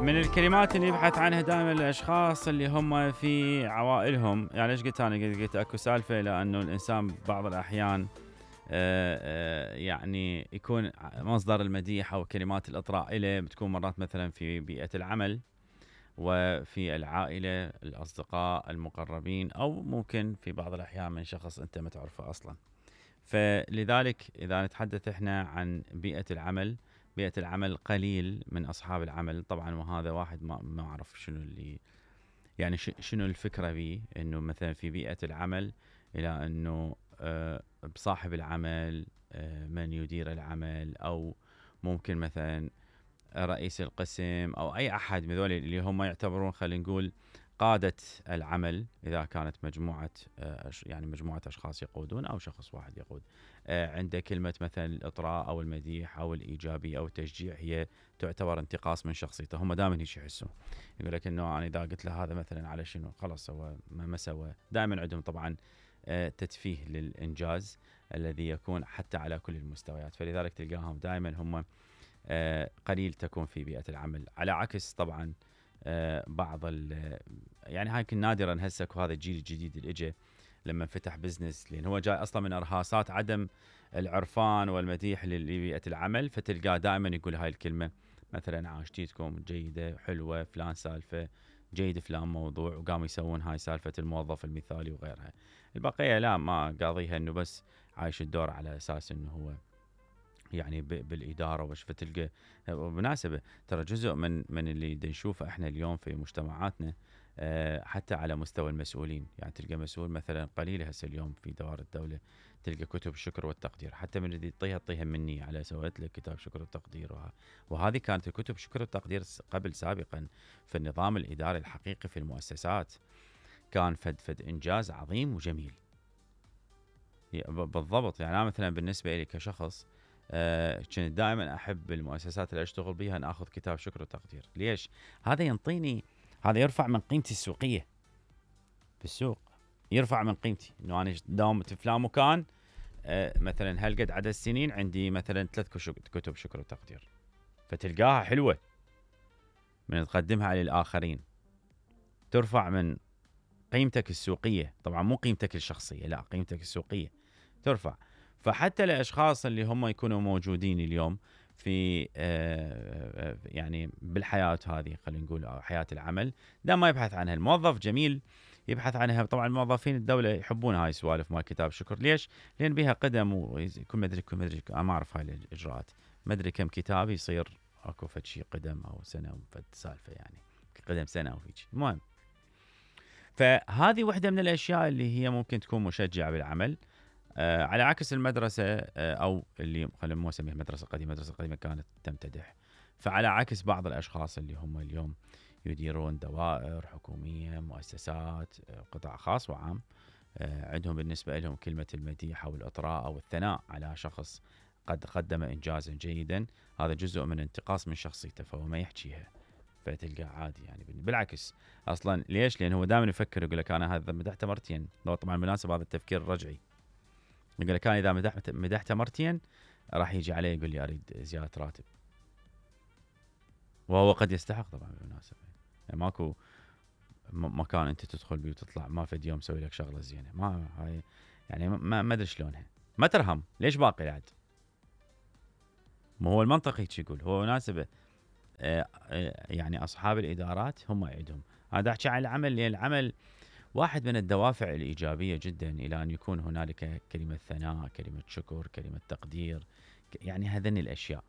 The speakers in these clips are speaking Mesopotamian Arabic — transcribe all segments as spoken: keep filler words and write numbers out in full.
من الكلمات اللي يبحث عنها دائما الاشخاص اللي هم في عوائلهم، يعني ايش قلت انا؟ قلت, قلت اكو سالفه لانه الانسان بعض الاحيان آآ آآ يعني يكون مصدر المديح او كلمات الاطراء له بتكون مرات مثلا في بيئه العمل وفي العائله، الاصدقاء المقربين، او ممكن في بعض الاحيان من شخص انت ما تعرفه اصلا. فلذلك اذا نتحدث احنا عن بيئه العمل، بيئة العمل قليل من أصحاب العمل طبعا، وهذا واحد ما ما أعرف شنو اللي يعني شنو الفكرة به، إنه مثلا في بيئة العمل إلى إنه آه بصاحب العمل آه من يدير العمل، أو ممكن مثلا رئيس القسم أو أي أحد من ذول اللي هم يعتبرون خلينا نقول قادة العمل، إذا كانت مجموعة آه يعني مجموعة أشخاص يقودون أو شخص واحد يقود. آه عنده كلمة مثلا الإطراء أو المديح أو الإيجابية أو التشجيع هي تعتبر انتقاص من شخصيته. هم دائما هيك يحسون، يقول لك إنه أنا إذا قلت له هذا مثلا على شنو خلاص هو ما, ما سوى. دائما عندهم طبعا آه تتفيه للإنجاز الذي يكون حتى على كل المستويات، فلذلك تلقاهم دائما هم آه قليل تكون في بيئة العمل، على عكس طبعا آه بعض يعني هاي كن نادرا هسه وهذا الجيل الجديد اللي اجى لما فتح بزنس، لان هو جاي اصلا من ارهاصات عدم العرفان والمديح لبيئة العمل، فتلقاه دائما يقول هاي الكلمة مثلا عاشتيتكم جيدة حلوة فلان سالفة جيد فلان موضوع، وقاموا يسوون هاي سالفة الموظف المثالي وغيرها. البقية لا، ما قاضيها انه بس عايش الدور على اساس انه هو يعني بالإدارة وش. فتلقى بالمناسبة ترى جزء من من اللي نشوفه احنا اليوم في مجتمعاتنا أه حتى على مستوى المسؤولين، يعني تلقى مسؤول مثلا قليل هسه اليوم في دوائر الدولة تلقى كتب الشكر والتقدير، حتى من اللي تطيها تطيها مني على سويت لك كتاب شكر والتقدير. وه... وهذه كانت الكتب شكر والتقدير قبل سابقا في النظام الإداري الحقيقي في المؤسسات، كان فد فد إنجاز عظيم وجميل بالضبط. يعني أنا مثلا بالنسبة لي كشخص آه كنت دائما احب المؤسسات اللي اشتغل بها ان اخذ كتاب شكر وتقدير. ليش؟ هذا ينطيني، هذا يرفع من قيمتي السوقيه في السوق، يرفع من قيمتي انه انا داومت في فلان مكان آه مثلا هالقد عدد السنين عندي مثلا ثلاث كتب شكر وتقدير، فتلقاها حلوه من تقدمها على الاخرين، ترفع من قيمتك السوقيه، طبعا مو قيمتك الشخصيه، لا قيمتك السوقيه ترفع. فحتى الاشخاص اللي هم يكونوا موجودين اليوم في آه يعني بالحياه هذه خلينا نقول او حياه العمل، دا ما يبحث عنها الموظف، جميل يبحث عنها. طبعا الموظفين الدوله يحبون هاي السوالف مال كتاب شكر. ليش؟ لان بها قدم ويكون مدري كم مدري انا ما اعرف هاي الاجراءات، مدري كم كتاب يصير اكو فد شيء قدم او سنه وفد سالفه، يعني قدم سنه او هيك. المهم، فهذه واحده من الاشياء اللي هي ممكن تكون مشجعه بالعمل. آه على عكس المدرسة آه أو اللي خلينا مو نسميها مدرسة قديمة، مدرسة قديمة كانت تمتدح. فعلى عكس بعض الأشخاص اللي هم اليوم يديرون دوائر حكومية، مؤسسات، آه قطاع خاص وعام، آه عندهم بالنسبة لهم كلمة المديح أو الإطراء أو الثناء على شخص قد قدم إنجازا جيدا، هذا جزء من انتقاص من شخصيته، فهو ما يحكيها، فتلقى عادي. يعني بالعكس أصلا. ليش؟ لأنه هو دائما يفكر يقول لك أنا هذا مدحته مرتين. طبعا بالمناسبة هذا التفكير الرجعي، يقول لك انا اذا مدحت مدحته مرتين راح يجي عليه يقول لي اريد زياده راتب، وهو قد يستحق طبعا بالمناسبه. يعني ماكو مكان انت تدخل بيه وتطلع ما فد يوم مسوي لك شغله زينه، ما هاي يعني ما ما ادري شلونها، ما ترهم ليش باقي بعد؟ ما هو المنطقي يقول هو مناسبه. آه آه يعني اصحاب الادارات هم يعيدهم. هذا احكي عن العمل، لان العمل واحد من الدوافع الإيجابية جدا إلى أن يكون هنالك كلمة ثناء، كلمة شكر، كلمة تقدير، يعني هذين الأشياء.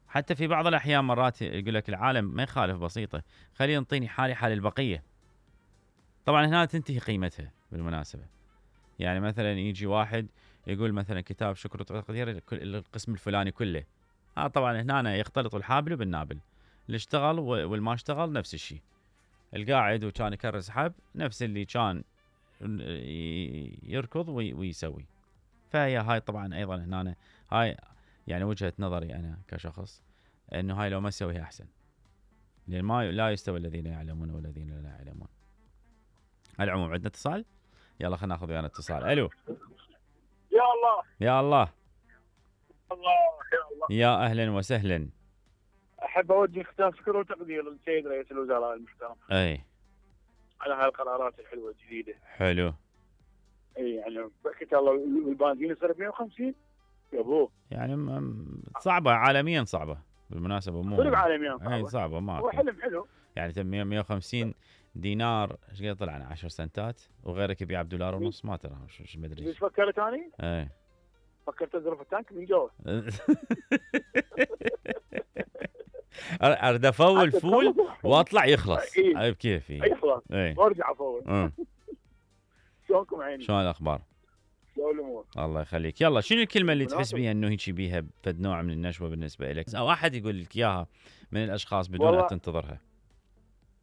حتى في بعض الأحيان مرات يقول لك العالم ما يخالف بسيطة، خلي ينطيني حالي حال البقية. طبعا هنا تنتهي قيمتها بالمناسبة. يعني مثلا يجي واحد يقول مثلا كتاب شكر وتقدير القسم الفلاني كله، آه طبعا هنا يختلط الحابل بالنابل، اللي اشتغل والما اشتغل نفس الشيء، القاعد وكان يكرس حب نفس اللي كان يركض ويسوي. فهي هاي طبعا ايضا هنا هاي يعني وجهة نظري انا كشخص، انه هاي لو ما تسويها احسن، لان ما لا يستوي الذين يعلمون والذين لا يعلمون. على العموم عندنا اتصال، يلا خلينا ناخذ ويانا اتصال. الو يا الله يا الله الله يا الله يا اهلا وسهلا. احب اوجه ختام شكر وتقدير للسيد رئيس الوزراء المحترم اي على هالقرارات الحلوه الجديده. حلو. اي يعني بحكي الله والبنزين يصير مية وخمسين يا ابوه. يعني م- صعبه عالميا، صعبه بالمناسبه، مو صدق عالميا اي صعبه. صعبه ما هو أكو. حلم حلو. يعني تم مية وخمسين دينار ايش قد طلعنا عشر سنتات، وغيرك يبيع بدولار ونص، ما ترى شو شو مدري. ايش فكرت اني؟ اي فكرت اظرف التانك من جوا. اريد افول فول واطلع يخلص. إيه. اي بكيفي. يخلص اي وارجع افول. أه. شلونكم عيني؟ شلون الاخبار؟ شلون الامور؟ الله يخليك. يلا شنو الكلمه اللي تحس مناسب. بيها انه هيك بيها فد نوع من النشوه بالنسبه لك، او احد يقول لك اياها من الاشخاص بدون والله ان تنتظرها؟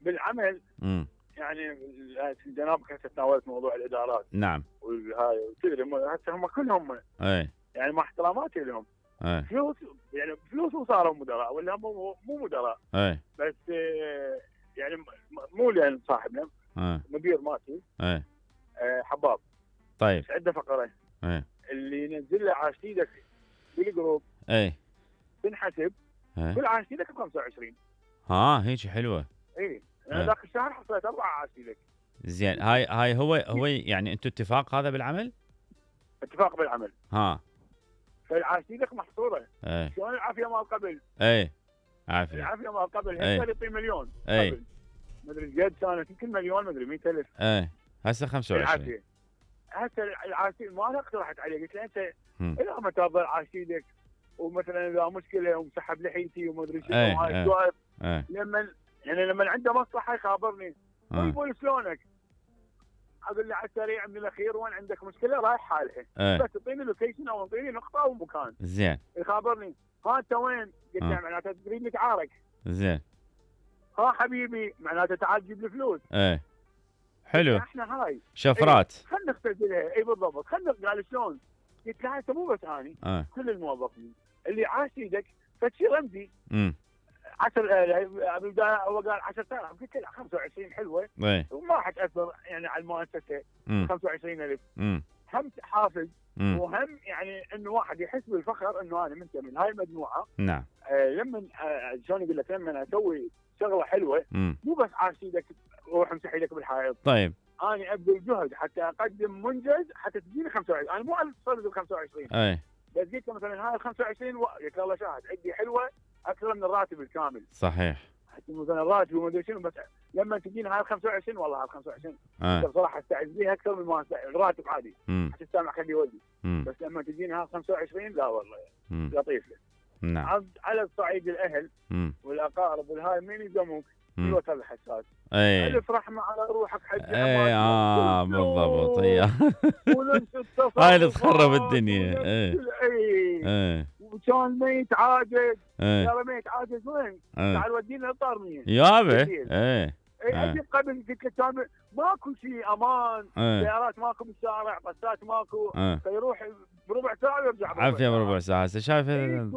بالعمل امم يعني جنابك هسه تناولت موضوع الادارات نعم. والهاي وتدري هم- هسه هم كلهم اي يعني مع احتراماتي لهم اي فلوس، يعني فلوس وصاروا مدراء ولا مو مو مدراء، اي بس آه، يعني م- مو لان صاحبنا اي مدير مالتي اي آه، حباب طيب. عنده فقره اي اللي ينزل له عاشتيدك بالجروب اي تنحسب اي كل عاشتيدك ب خمسة وعشرين. ها هيك حلوه. اي انا إيه. ذاك الشهر حصلت اربع عاشتيدك. زين. هاي هاي هو هو يعني انتم اتفاق هذا بالعمل؟ اتفاق بالعمل، ها فالعاشتيدك محصوره. اي شلون العافيه مال قبل؟ اي عافيه. العافيه مال قبل إيه. هسه يعطي مليون إيه. قبل مدري ايش قد كانت يمكن مليون مدري مئة ألف اي هسه خمسة وعشرين. العافيه. هسه العاشتي ما أنا اقترحت عليه قلت له انت هم. الى ما تظل عاشتيدك ومثلا اذا مشكله ومسحب لحيتي وما ادري شنو إيه، وهاي إيه. السوالف اي لما يعني لما عنده مصلحه يخابرني آه. يقول شلونك؟ اقول له على السريع من الاخير وين عندك مشكله رايح حالها اي بس تعطيني لوكيشن او تعطيني نقطه او مكان زين يخابرني ها انت وين؟ قلت له آه. معناته تريد نتعارك. زين. ها حبيبي معناته تعال جيب لي فلوس. اي حلو. احنا هاي شفرات. خلينا نختزلها. اي بالضبط. خلينا قال شلون؟ قلت له هسه مو بس اني اه كل الموظفين اللي عاش ايدك فشي رمزي امم عشر بالبدايه هو قال عشرة آلاف قلت له خمسة وعشرين حلوه اي وما راح تاثر يعني على المؤسسه. امم خمسة وعشرين ألف امم هم حافز امم وهم يعني انه واحد يحس بالفخر انه انا منتمي من هاي المجموعه. نعم. آه لما آه شلون يقول لك لما اسوي شغله حلوه امم مو بس عاش ايدك روح امسح ايدك بالحائط. طيب. انا ابذل جهد حتى اقدم منجز حتى تجيني خمسة وعشرين. انا مو الفرد ال خمسة وعشرين اي بس جيت مثلا هاي ال خمسة وعشرين و... قلت له الله شاهد عندي حلوه اكثر من الراتب الكامل. صحيح. حتى مثلا الراتب وما ادري شنو بس لما تجيني هاي ال خمسة وعشرين والله هاي ال خمسة وعشرين اه بصراحه استعز بيها اكثر من ما أستعز- الراتب عادي امم حتى السامع خليه يودي. امم بس لما تجيني هاي ال خمسة وعشرين لا والله امم لطيف. نعم. عاد على الصعيد الاهل امم والاقارب والهاي مين يلزموك في امم الوقت الحساس. اي الف رحمه على روحك حج اي اه بالضبط. هي ونفس التصرف هاي اللي تخرب الدنيا. اي اي اي وكان ميت عاجز. اي يا ميت عاجز وين؟ اي تعال ودينا الطارميه. يابا. كثير. اي اي آه. اجيب قبل قلت لك كان ماكو شيء امان. اي سيارات ماكو بالشارع بسات ماكو اي فيروح بربع ساعه ويرجع بربع عافيه ساعة. بربع ساعه هسه شايف. إيه،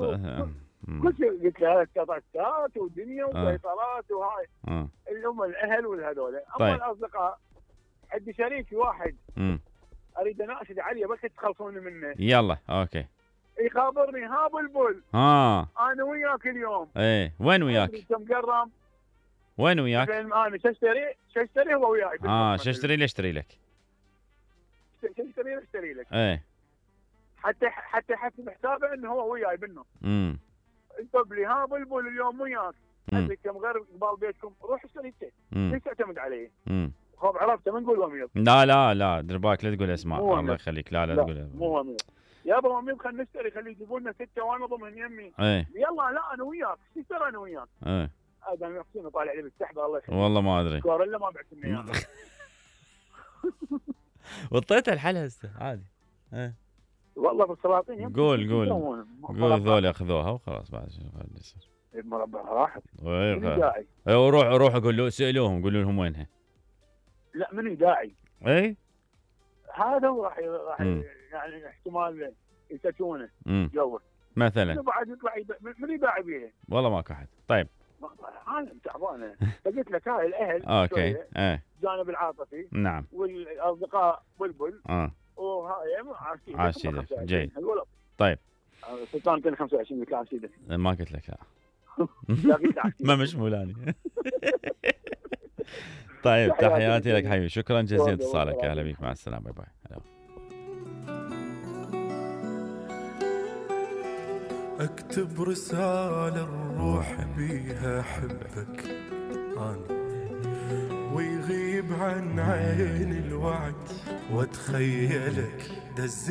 كل شيء قلت له قطعات ودنيا وسيطرات وهاي اه اللي هم الاهل والهذول. اما طيب. الاصدقاء عندي شريكي واحد امم اريد اناشد عليه بس تخلصوني منه يلا اوكي. يخابرني ها بلبل ها انا وياك اليوم. ايه وين وياك؟ كم قرم وين وياك؟ انا شاشتري شاشتري هو وياي. اه شاشتري لي اشتري لك. شاشتري اشتري لك ايه حتى حتى يحسب حسابه انه هو وياي بالنص. امم انت لي ها بلبل اليوم وياك. مم. عندك كم غير قبال بيتكم روح اشتري انت امم ليش تعتمد عليه؟ امم خب عرفته ما نقول وميض. لا لا لا دير بالك لا تقول اسماء. مو الله أنا. يخليك. لا لا لا تقول. مو وميض يابا وميض خلينا نشتري خلي يجيبوا لنا سته وانا اضمن يمي. ايه يلا لا انا وياك شو ترى انا وياك. ايه هذا يقصيني طالع لي بالسحبه الله يخليك. والله ما ادري. كوريلا ما بعت لنا اياها. وطيتها الحل هسه عادي. ايه والله بالسلاطين يمكن قول- شو قول. يسوون؟ قول مربع. ذول اخذوها وخلاص بعد شنو قاعد يصير. المربع راحت. ايه من خلاص. داعي؟ ايه وروح روح اقول له سالوهم قولوا لهم وينها. لا من داعي؟ اي هذا هو راح راح مم. يعني احتمال يسكونه امم جوه. مثلا منو بعد يطلع يب- من يباع بيها؟ والله ماكو احد. طيب عالم تعبانه. فقلت لك هاي الاهل اوكي. شوية، ايه الجانب العاطفي نعم. والاصدقاء بلبل اه وهاي عاشيدك عاشيدك. جيد. الولد طيب سلطان كان خمسة وعشرين قلت له عاشيدك ما قلت لك لا. ما مشمولاني. طيب تحياتي لك حبيبي، شكرا جزيلا اتصالك، اهلا بك، مع السلامه، باي باي. اكتب رسالة الروح بيها احبك انا، ويغيب عن عين الوعد واتخيلك دز